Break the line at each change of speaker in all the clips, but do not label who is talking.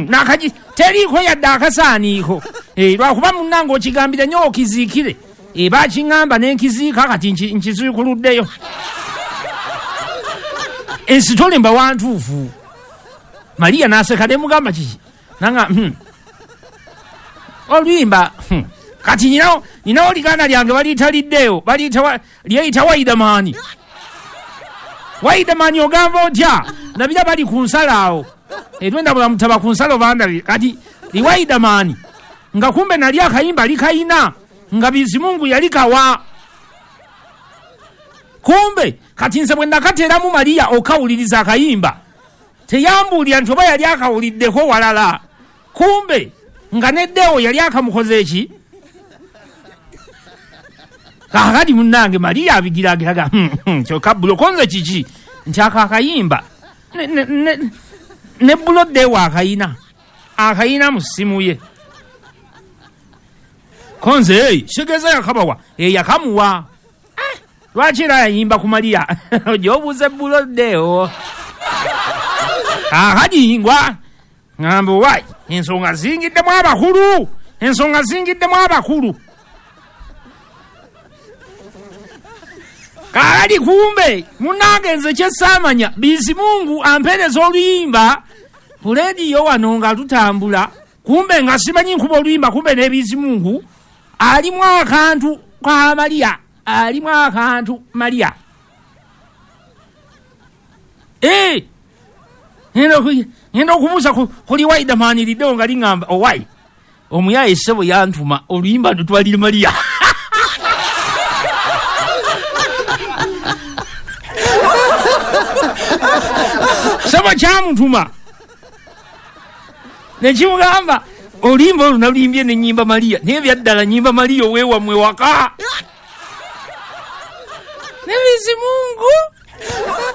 Nakagi teriiko yadde akasaaniiko. Lwakuba munnange okigambire nnyo okiziikire. Bakiŋŋamba ne nkiziika kati nkiziikuluddeyo. Ensitole mba wantuufu. Maria n'aseka ne mugamba kiki? Nanga oluyimba kati ninawo liganda lyange baliitaliddeyo, lyeyita Waidamani. Waidamani ogamba otya? Nabira bali ku nsalo awo. Etwenda bulamutaba ku nsalo bandabye. Kati liwaidamani nga kumbe nali akayimba likayina nga Bizimungu yali kawa. Kumbe kati nze bwe nakateeramu Maria okawuliriza akayimba teyambuulira nti oba yali akawuliddeko walala. Kumbe nga neddewo yali akamukoze eki? Kaakati munnange Maria abigiragiraga kyokka bulokonze kiki nti ako akayimba ne buloddewo akayina mu ssimu ye. Konze kitegeeza yakabawa, yakamuwa. Lwaki era yayimba ku Maria? Gy'obuuza buloddewo. Kaakati ngwa ŋŋamba owaayi ensonga zingiddemu abakulu, ensonga zingiddemu abakulu. Kaakati kumbe munnange nze kye ssaamanya, Bizimungu ampeereza oluyimba ku leediyo wano nga lutambula, kumbe nga simanyi nkuba oluyimba, kumbe ne Bizimungu alimu akantu ka Maria, alimu akantu Maria. Ngenda okubuuza kuli Waidamani liddewo nga liŋŋamba owaayi omuyaye ssebo yantuma oluyimba ndutwalire Maria. Ssebo kyamutuma ne kimugamba oluyimba olwo naluyimbye ne nnyimba Maria, naye byaddala nnyimba Maria oweewammwe waka. Ne Bizimungu,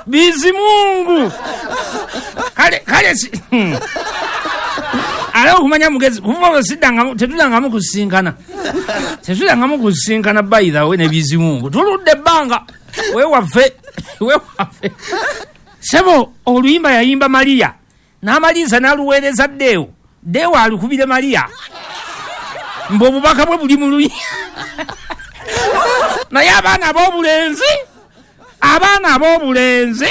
Bizimungu kale ale okumanya mugezi kuva olwo tetudangamu kusisinkana, tetudangamu kusisinkana by the way ne Bizimungu tuludde ebbanga wewaffe. Ssebo oluyimba yayimba Maria n'amaliriza n'aluweereza Ddeewo, Ddeewo alukubire Maria mbu obubaka bwe buli mu luyimba. Naye abaana ab'obulenzi, abaana ab'obulenzi